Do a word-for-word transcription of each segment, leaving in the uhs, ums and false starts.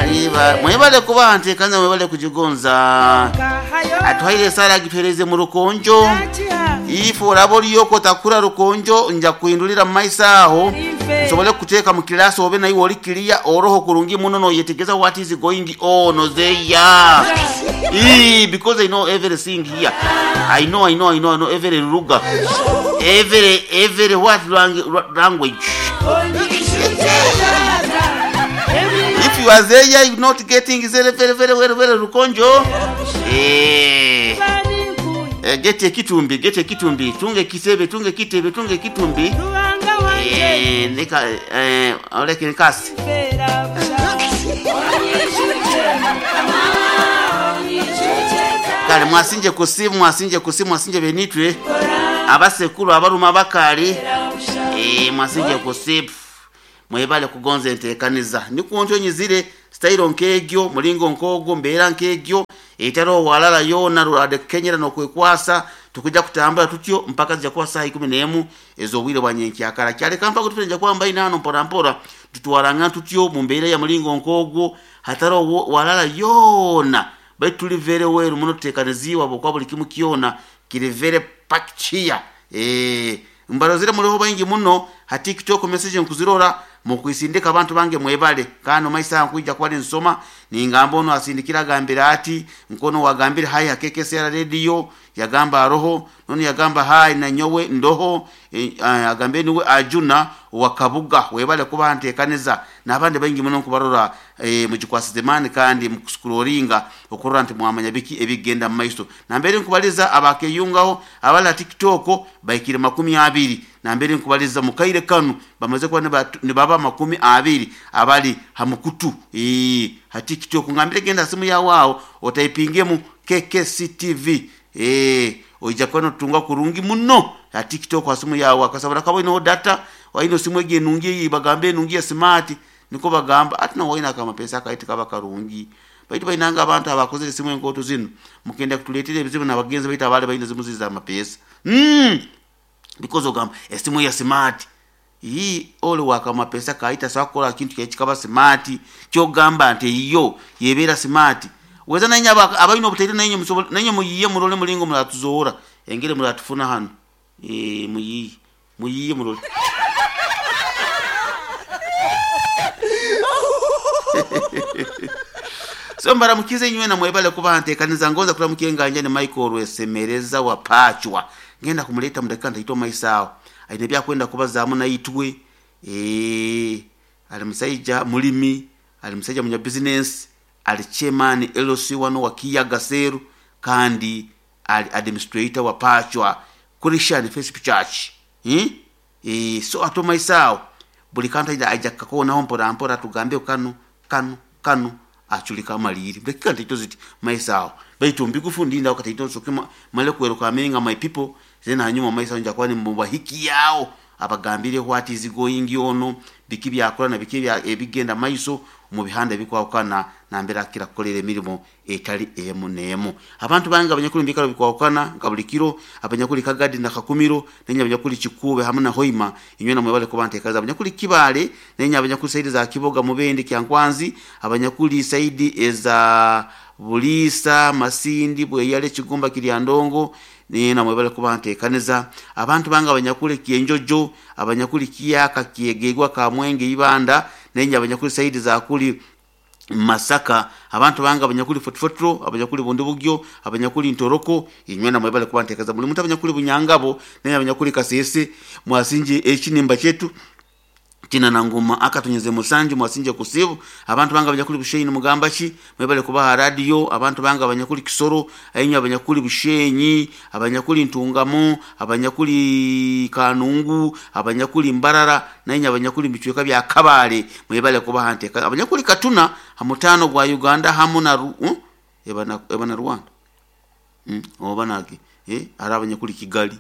Aliba mwebale kuba ntekanza mwebale kujigonza atuhaire sara gitwereze mu rukonjo ifu oraba oriyoko takura rukonjo nja kuhindulira mu maiso aho nsobole kuteeka mu kilasi obe naiwe ori clear oroho kurungi muno noyetegeza what is going on there. Ee, because I know everything here. I know, I know, I know, I know every lugha, every every what lang- language. If you are there, you're not getting very very very very very rukonjo. Eh, eh, get ekitumbi, get ekitumbi, tunge kisebe, tunge kitebe, tunge kitumbi. Eh, nika eh, oleke nikasi. Kale mwasinje kusimu, mwasinje kusimu, mwasinje benitwe abasekuru abaruma abakali. Eh, mwasinje kusimu mwebale kugonza enteekaniza nikuntyo nyizire sitayiro nk'egyo mulingo nk'ogwo mbeera nk'egyo etaro walala yona rurade kenyera nokwekwasa tukujja kutambula tutyo mpaka zijja kuba saa ikumi n'emu ez'obwire bwa nyenkyakala kyaleka mpaka tutenja kwamba inaano mpora mpora tutwaranga tutyo mu mbeera ya mulingo nk'ogwo hataro walala yona baitu tuli very well muno tuteekaniziibwa bwokuba buli kimu kyona kiri very packed here. Eh, mbarozere muliho baingi muno ha TikTok message nkuzirora mukwisindika abantu bange mwebale kano maisa nkuija kwali nsoma ningamba ono asindikira agambira ati nkono wagambira hai hakekesera radio yagamba aroho noni yagamba hai na nyowe ndoho e, agambe niwe ajuna wakabuga webale kuba ntekaneza n'abandi baingi muno nkubarora e, mugikwasizemani kandi mukuscrollinga okurora nti mwamanya biki ebigenda mu maiso nambere nkubaliza abakeyungaho abali TikTok baikire makumi abiri nambere nkubaliza mukaire kanu bamaze kuba nibaba makumi abiri abali hamukutu ee ha TikTok ngambire genda simu yawo otaipingemu K K C T V eh oija kwano tunga kurungi muno ha TikTok kwa simu yawo akasabura kabo ino data waino simu ege nungi bagambe nungi smart niko bagamba ati no waina kama pesa kaiti kaba karungi baitu bainanga abantu abakozere simu enkoto zino mukenda kutuletera ebizibu na bagenzi baita abale baina zimu ziza amapesa mm because ogamba esimu ya smart hii ole waka mapesa kaita sakola kintu kyekikaba smart kyogamba nti iyo yebera smart weza nanya abalina obutaire nanye musobola nanye muyiye mulole mulingo mulatuzoora engere mulatufuna hano eh muyiye muyiye mulole so mbaramukize nywe na mwebale kuba ntekaniza ngonza kulamukiye nganja ni Michael Rwesemereza wa Pachwa ngenda kumuleta mudakika ntaitwa maisao aine byakwenda kubazaamu naitwe eh ali musaija mulimi ali musaija munya business ali chairman L C wano wa Kiyaga Seru kandi ali administrator wa Pachwa Christian Fellowship Church hmm? Eh so ato maisao buli kanta ida aja kakona mpora mpora tugambe kanu kanu kanu achulika maliri dakika ntaito ziti maisao baitu mbikufundi nda wakati sokema male kweruka amenga my people zena hanyuma maisao nja kwani mbumba hiki yao abagambire what is going on biki byakora na biki bya ebigenda maiso mu bihanda bikwakana nambera kira kolere emirimo etali emu nemu abantu banga abanyakuli mbikalo bikwakana ngabulikiro abanyakuli Kagadi na Kakumiro nenya abanyakuli Kikube hamwe na Hoima inywe na mwebale kubantekaza abanyakuli Kibale nenya abanyakuli saidi za Kiboga Mubende Kyankwanzi abanyakuli saidi eza Bulisa Masindi Bweyale Kigumba Kiryandongo nina mwebale kubantekaneza abantu banga abanyakuli Kienjojo abanyakuli Kiyaka Kiegegwa Kamwenge Ibanda nenya abanyakuli saidi za kuli Masaka abantu banga abanyakuli Fotfotro abanyakuli Bundibugyo abanyakuli Ntoroko inywe na mwebale kubantekaneza muli mutabanyakuli Bunyangabo nenya abanyakuli Kasese mwasinje ekinimba chetu tina na ngoma akatunyeze musanju mwasinje kusibu abantu banga abanyakuli Bushenyi mugamba ki mwebale kubaha radio abantu banga abanyakuli Kisoro ayinya abanyakuli Bushenyi abanyakuli Ntungamo abanyakuli Kanungu abanyakuli Mbarara nainya abanyakuli bichweka bya Kabale mwebale kubaha nteka abanyakuli Katuna hamutano gwa Uganda hamu na uh? ebana ebana Rwanda mm obanake eh ara abanyakuli Kigali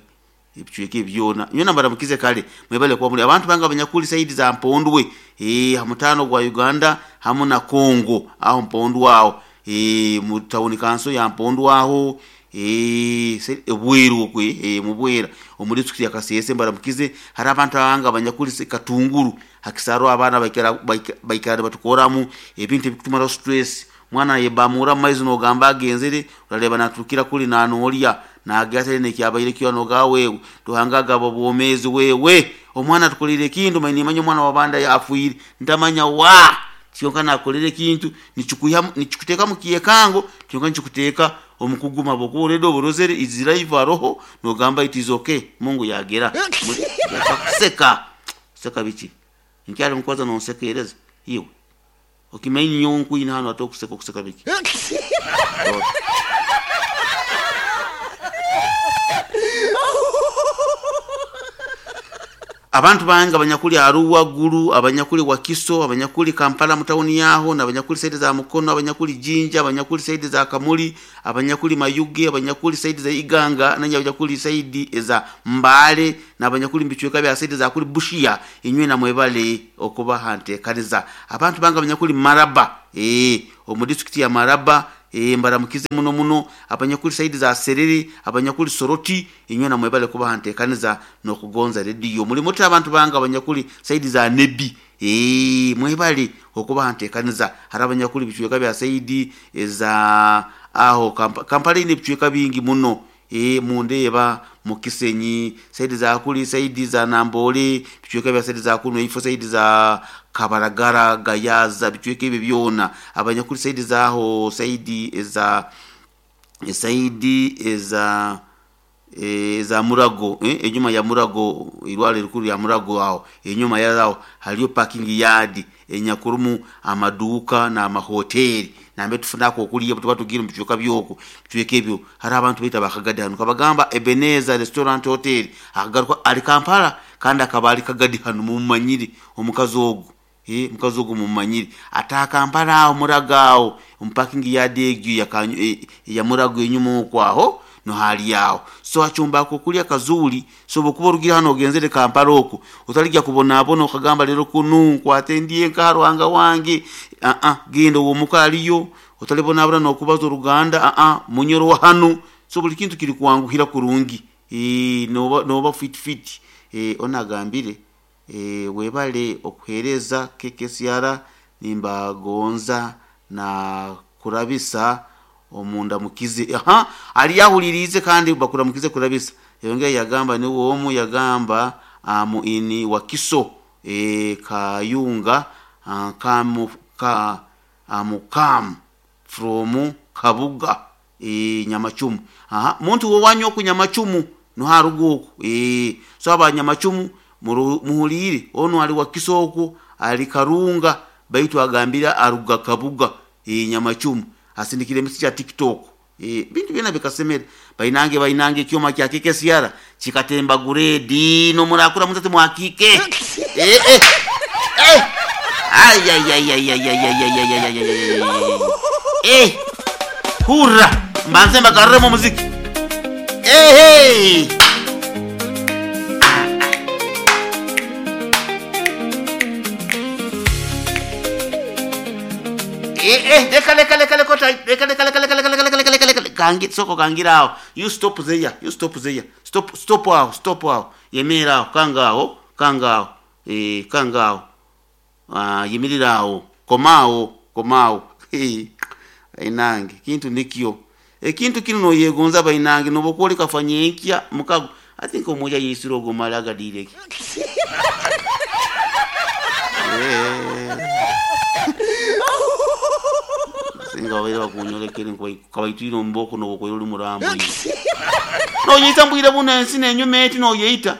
ebichweke byona nyona mbaramukize kale mwebale kuba muri abantu banga abanyakuli saidi za Mpondwe eh hamutano gwa Uganda hamu na Kongo aho Mpondwe aho eh mu town council ya Mpondwe aho eh ebweru okwe eh mubwera omuri tsukiri akasese mbaramukize hari abantu banga abanyakuli Katunguru Hakisaro abaana baikara baikara batukoramu ebintu ebikutumara stress. Mwana yebamura maizi nogamba agenzere urareba naturukira kuli nanolya nagase nekyabaire kyo nogawe tuhangaga bobomezi wewe omwana tukolire kintu manyi omwana wabanda yafuire ntamanya wa kyonka nakolere kintu nichikuya nichikuteka mukiyekango kyonka nichikuteka omukuguma bokure do borozere iziraiva roho nogamba it is okay Mungu yagera yakuseka seka bichi nkyali mukwaza nonsekereza iwe okimenyi nyonku ina hano atokuseka kuseka biki abantu banga abanyakuli Arua Gulu, abanyakuli Wakiso, abanyakuli Kampala mutauni yaho, na abanyakuli saidi za Mukono, abanyakuli Jinja, abanyakuli saidi za Kamuli, abanyakuli Mayuge, abanyakuli saidi za Iganga, na abanyakuli saidi za Mbale, na abanyakuli mbichweka bya saidi za kuli Bushia, inywe na mwebale okuba hante kaniza. Abantu banga abanyakuli Maraba, eh omu district ya Maraba, eh mbaramukize muno muno, abanyakuli saidi za Serere, abanyakuli Soroti, inywe na mwebale kuba hante kaniza no kugonza radio. Muri muti abantu banga abanyakuli saidi za Nebi, eh mwebale okuba hante kaniza. Hari abanyakuli bichweka bya saidi za aho Kampa, Kampala ine bichweka bingi muno. E mundeba mukisenyi saidi za kuli saidi za Nambole bichweka bya saidi za kuno ifo saidi za Kabaragara Gayaza bichweka ibi byona abanyakuli saidi za aho saidi za saidi za e, za Murago eh, enyuma ya Murago irwale rukuru ya Murago aho enyuma yaho haliyo parking yard enyakurumu amaduka na amahoteli nambe tufunako okuliya tuba tugira mbichuka byoko bichweka ebyo hari abantu bita bakagadi hano kabagamba Ebenezer restaurant hotel akagaruka ali Kampala kandi akabali kagadi hano mumanyiri omukazi ogu eh mukazi ogu mumanyiri ata Kampala aho Muragao parking yard egyo ya e, ya Murago enyuma okwaho no hali yao so achumba kukulya kazuli so bokuba rugira hano ogenzere Kampala oko utalijya kubona abono okagamba lero kunu kwatendiye nkaruhanga wange a a genda uwo mukaliyo utalibona abura no kubaza uruganda a a munyoro wa hano so buli kintu kiri kuwanguhira kurungi e no no fit fit e onagambire e webale okuhereza K K C R nimba gonza na kurabisa omunda mukize aha ali yahulirize kandi bakura mukize kurabisa yongeye yagamba ni womu yagamba amu ini Wakiso e Kayunga kamu ka amukam from Kabuga e Nyamachumu aha muntu wo wanyo ku Nyamachumu no haruguko e so aba Nyamachumu muhulire ono ali Wakiso oku ali Karunga baitu agambira aruga Kabuga e Nyamachumu asindikire misi cha TikTok e bintu byena bikasemera bainange bainange kyoma kya K K C R chikatemba grade no murakura mutate mwakike eh eh eh ay ay ay ay ay ay ay ay ay ay ay eh hurra mbanze mbagarre mu muziki eh hey Eh eh leka leka leka leka leka leka leka leka leka leka leka leka leka kangi soko kangira aho you stop there you stop there stop stop aho stop aho yemera aho kanga aho kanga aho eh kanga aho ah yimirira aho komao komao eh inange kintu nikyo ekintu kino no yegonza bainange no bokoli kafanye nkya mukago I think omoja yisiro gomalaga direki eh singa wabere bakunyolekere kabaitwire mboko no bokoyo oli murambo no yita mbwire buna ensi nenyuma eti no yita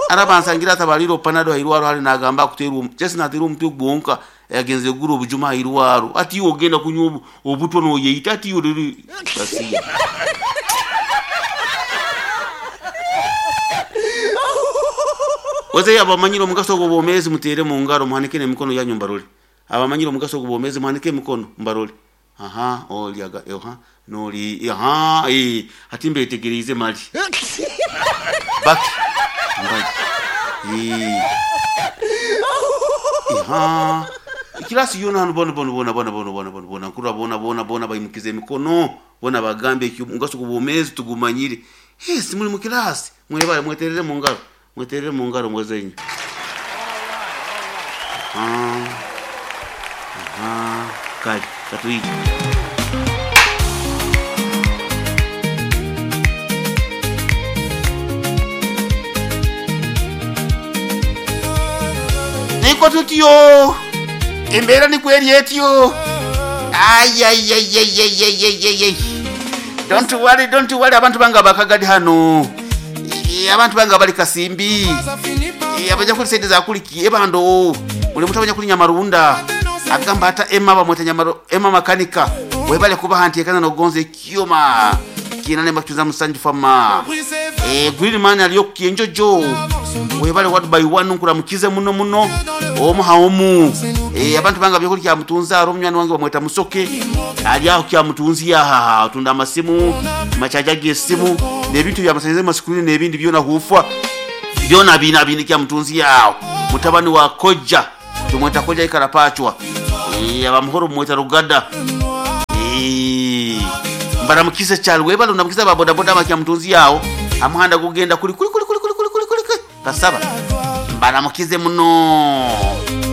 arabansangira atabaliro panado hairwaro hari nagamba kuteru chesi natera omutwe gwonka yagenze guru obujuma hairwaro ati iwe ogenda kunywa obutwa no yita ati iwe riri basiya weze abamanyire omugaso gw'obwomezi mutere mu ngaro muhanike n'emikono yanyu mbarole abamanyire omugaso gw'obwomezi muhanike emikono mbarole aha oli aga aha noli aha eh ati mbetegereze mali baki mbaye eh aha ikirasi yona hano bona bona bona bona bona bona bona bona nkura bona bona bona bayimukize emikono bona bagambe omugaso gw'obwomezi tugumanyire yes muri mu kirasi mwebale mweterere mu ngaro Mweterere mu ngaro mwezenyu. Ah. Ah, kali katuije. Niko tutyo embeera nikweri etyo. Ayayayayayayayayay, don't worry, don't worry, abantu bange bakagadi hano. Eh, abantu bange bali Kasimbi. Eh, abaja kuli sente zakuliki ebando muli mutabanya kuli Nyamarunda agamba ata Emma bamweta Nyamaro Emma makanika webale kuba hanti ekana nogonze ekyoma kinane bakutuza musanju fama. Eh, green man aliyo kienjojo webale wadu by one nkuramukize muno muno omu haomu. Eh, abantu banga byokuli kya mutunza aro munywani wange bamweta Musoke ali aho kya mutunzi yaha atunda amasimu machaja g'esimu n'ebintu bya masikuli n'ebindi byona hufa byona bina bini kya mutunzi yawo mutabani wa Koja tumweta Koja ikarapachwa. Eh, abamuhoro mweta Rugada. Eh, mbaramukize cyane webale ndamukiza ba boda boda bakya mutunzi yawo amuhanda gugenda kuri kuri kuri kuri kuri kuri kuri kuri kasaba mbaramukize muno.